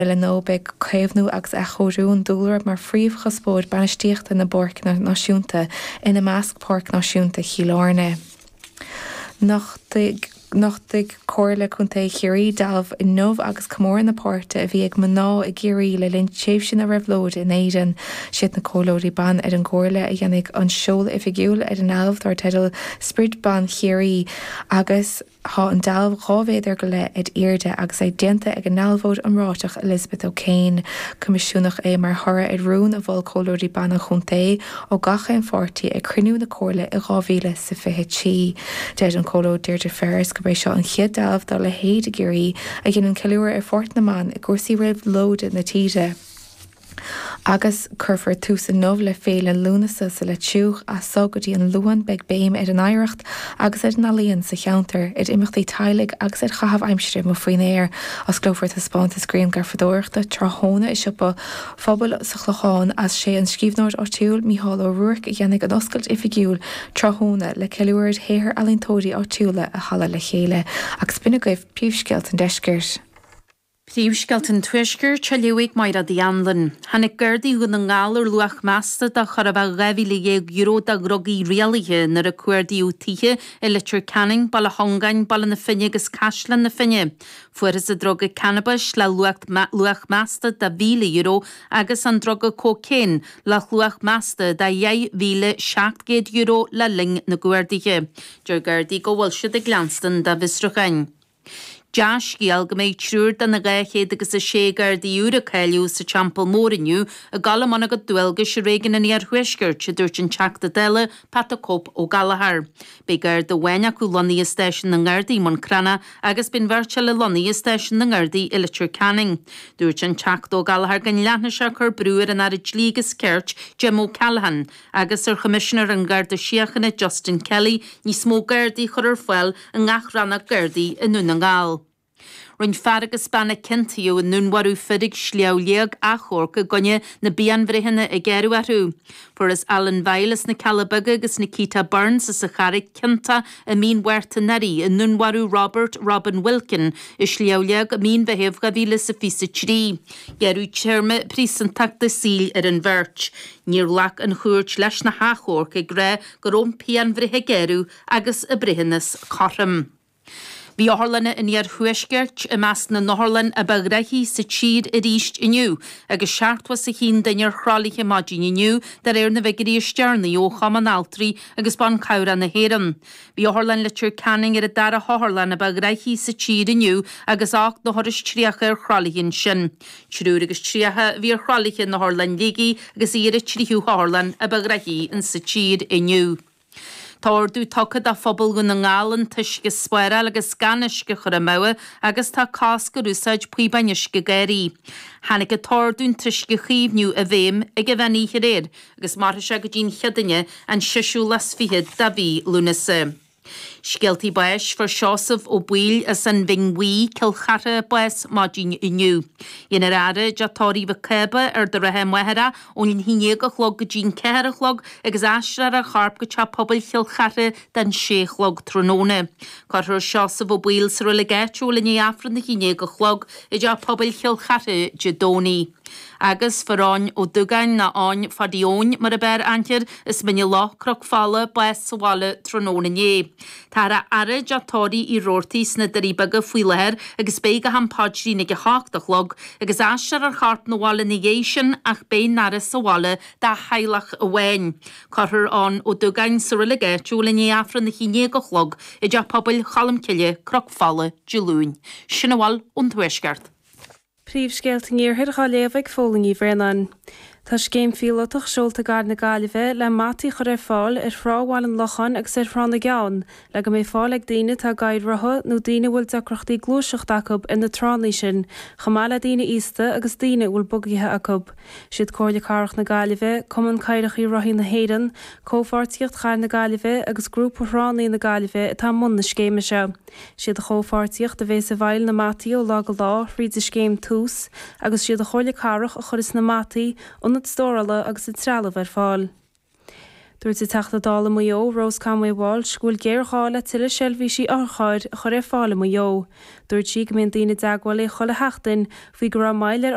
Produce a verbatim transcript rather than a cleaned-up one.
Eile nó beidh caomhnú agus athchóiriú an dúlra mar phríomhchuspóir bainistíochta na bpáirceanna náisiúnta, ina measc Páirc Náisiúnta Chill Airne. Nochtaigh Nochtaigh Comhairle Contae Chiarraí dealbh inniu agus comóradh na páirte a bhí ag mná i gCiarraí le linn tréimhse na réabhlóide in Éirinn. Siad na comhairleoirí ban ar an gComhairle a dhéanfaidh an seoladh oifigiúil ar an ndealbh dar teideal 'Sprid Ban Chiarraí' agus Tá an dealbh dhá mhéadar go leith ar airde agus é déanta ag an ndealbhóir iomráiteach Elizabeth O'Kane. Coimisiúnach é mar thoradh ar rún a mhol comhairleoirí ban an chontae ó gach aon pháirtí ag cruinniú na comhairle i dhá mhíle is a fiche trí. Deir an Comhairleoir Deirdre Ferris gurb é seo an chéad dealbh dá leithéid i gCiarraí a dhéanann ceiliúradh ar pháirt na mban i gcúrsaí réabhlóide na tíre. Agus cuirfear tús inniu le Féile Lúnasa sa Leitriúch. As so go dtí an Luan beidh béim ar an oidhreacht agus ar an ealaíon sa cheantar, ar imeachtaí teaghlaigh agus ar chaitheamh aimsire amuigh faoin aer. Osclófar taispeántas grianghrafadóireachta tráthnóna i siopa phobail sa Chlochán as sé an scríbhneoir áitiúil Mícheál Ó Ruairc a dhéanfaidh an oscailt oifigiúil tráthnóna le ceiliúradh ar shaothar ealaíontóirí áitiúla a chaladh le chéile. Agus b'in agaibh príomhscéalta an deiscirt. Príomhscéalta an Tuaiscirt á léamh ag Máire Uí Anluain. Tháinig Gardaí Dhún na nGall ar luach measta de chóir a bheith dhá mhíle dhéag euro de dhrugaí rialaithe nuair a cuardaíodh tithe i Leitir Ceanainn, Baile Chongáin, Baile na Finne agus Caisleán na Finne. Fuarthas an druga cannabais le luach measta de mhíle euro agus an druga cócaon le luach measta de dheich mhíle seacht gcéad euro le linn na gcuarduithe. Deir Gardaí go bhfuil siad ag leanstan dá bhfiosrúcháin. Dea-scéal go mbeidh triúr de na dhá chéad agus a sé Gardaí úr a cáilíodh sa Teampall Mór inniu ag dul i mbun a gcuid dualgais i réigiún an Iarthuaiscirt, a dúirt an Teachta Dála Pat 'The Cope' Ó Gallchóir. Beidh Garda amháin acu lonnaithe i Stáisiún na nGardaí i mBun Cranncha agus beidh an bheirt eile lonnaithe i Stáisiún na nGardaí i Leitir Ceanainn. Dúirt an Teachta Ó Gallchóir go leanfaidh sé ag cur brú ar an Aire Dlí agus Cirt, Jim O'Callaghan, agus ar Choimisinéir an Gharda Síochána Justin Kelly níos mó Gardaí a chur ar fáil i ngach rannóg Gardaí i nDún na nGall. Rinne fear agus bean a ciontaíodh i ndúnmharú fir ag Sliabh Liag achomharc i gcoinne na bpianbhreitheanna a gearradh orthu. Fuarthas Alan Vile as na Cealla Beaga agus Nikita Burns as an Charraig ciontach i mí an Mhárta anuraidh i ndúnmharú Robert Robin Wilkin i Sliabh Liag i mí an Mheithimh dhá mhíle is a fiche a trí. Gearradh téarma príosúntachta saoil ar an bheirt. Níor ghlac an chúirt leis na hachomhairc ag rá go raibh an pianbhreith a gearradh agus a breithiúnas cothrom. Bhí otharlanna an iarthuaiscirt i measc na n-otharlann a ba ghnoithí sa tír arís inniu agus seachtó is a haon duine ar thralaithe maidin inniu de réir na bhfigiúirí is deireanaí ó Chumann Altraí agus Ban Cabhrach na hÉireann. Bhí Otharlann Leitir Ceanainn ar an dara hotharlann a ba ghnoithí sa tír inniu agus ocht n-othar is tríocha ar thralaithe ansin. Triúr agus tríocha a bhí ar thralaithe in Otharlann Shligigh agus í ar an tríú hotharlann a ba ghnoithí insa tír inniu. Tá ordú tugtha do phobal Dhún na nGall an t-uisce a spáráil agus gan uisce a chur amú agus tá cosc ar úsáid píobáin uisce garraí. Tháinig an t-ordú an t-uisce a chaomhnú i bhfeidhm ag an mheán oíche aréir agus mairfidh sé go dtí an Chéadaoine an seisiú lá is fiche de mhí Lúnasa. Scéaltaí báis, Fuair Seosamh Ó Baoill as an Bhinn Bhuí, Cill Chartha, bás maidin inniu. Dhéanfar a fhaire i dTeach Tórraimh Mhic Cába, Ard an Rátha, Machaire ón haon déag a chlog go dtí'n ceathair a chlog agus aistreofar a chorp go Teach Pobail Chill Chartha don sé a chlog tráthnóna. Cuirfear Seosamh Ó Baoill sa reilig áitiúil i ndiaidh Aifreann a haon déag a chlog i dTeach Pobail Chill Chartha Dé Domhnaigh. Agus fuair Eoin Ó Dúgáin, nó Eoin Pháidí Eoin mar ab fhearr aithne air, as Mín an Loch, Cnoc Fola, bás sa bhaile tráthnóna inné. Táthar á fhaire i dTeach Tórraimh Uí Robhartaigh sna Doirí Beaga faoi láthair agus beidh go ham paidrín ag a hocht a chlog agus aistreofar a chorp 'na bhaile ina dhiaidh sin ach beidh an fhaire sa bhaile dá theaghlach amháin. Cuirfear Eoin Ó Dúgáin sa reilig áitiúil i ndiaidh Aifreann a haon déag a chlog i dTeach Pobail Cholmcille, Cnoc Fola, Dé Luain. Sin a bhfuil ón Tuaisceart. Príomhscéalta an Iarthair dhá léamh ag Fódhla Ní Bhraonáin. Tá scéim phíolótach seolta i gcathair na Gaillimhe le mataí a chur ar fáil ar Thrá Bhaile an Locháin agus ar Thrá na gCeann le go mbeidh fáil ag daoine atá i gcathaoir rotha nó daoine a bhfuil deacrachtaí gluaiseachta acu ar na tránna sin, chomh maith le daoine aosta agus daoine a bhfuil bugaithe acu. Siad Comhairle Cathrach na Gaillimhe, Cumann Cathaoireacha Rothaí na hÉireann, Comhpháirtíocht Chathair na Gaillimhe agus Grúpa Thránna na Gaillimhe atá i mbun na scéime seo. Siad an chomhpháirtíocht a bhéas ag fáil na mataí ó lá go lá thríd an scéim Tús agus siad an Chomhairle Cathrach a chuirfeas na mataí, ionad stórála agus an trealamh ar fáil. Dúirt an Teachta Dála Maigh Eo, Rose Conway Walsh, go bhfuil géarghá le tuilleadh seirbhísí otharchairr a chur ar fáil i Maigh Eo. Dúirt sí go mbíonn daoine i dteagmháil léi chuile sheachtain faoi go raibh moill ar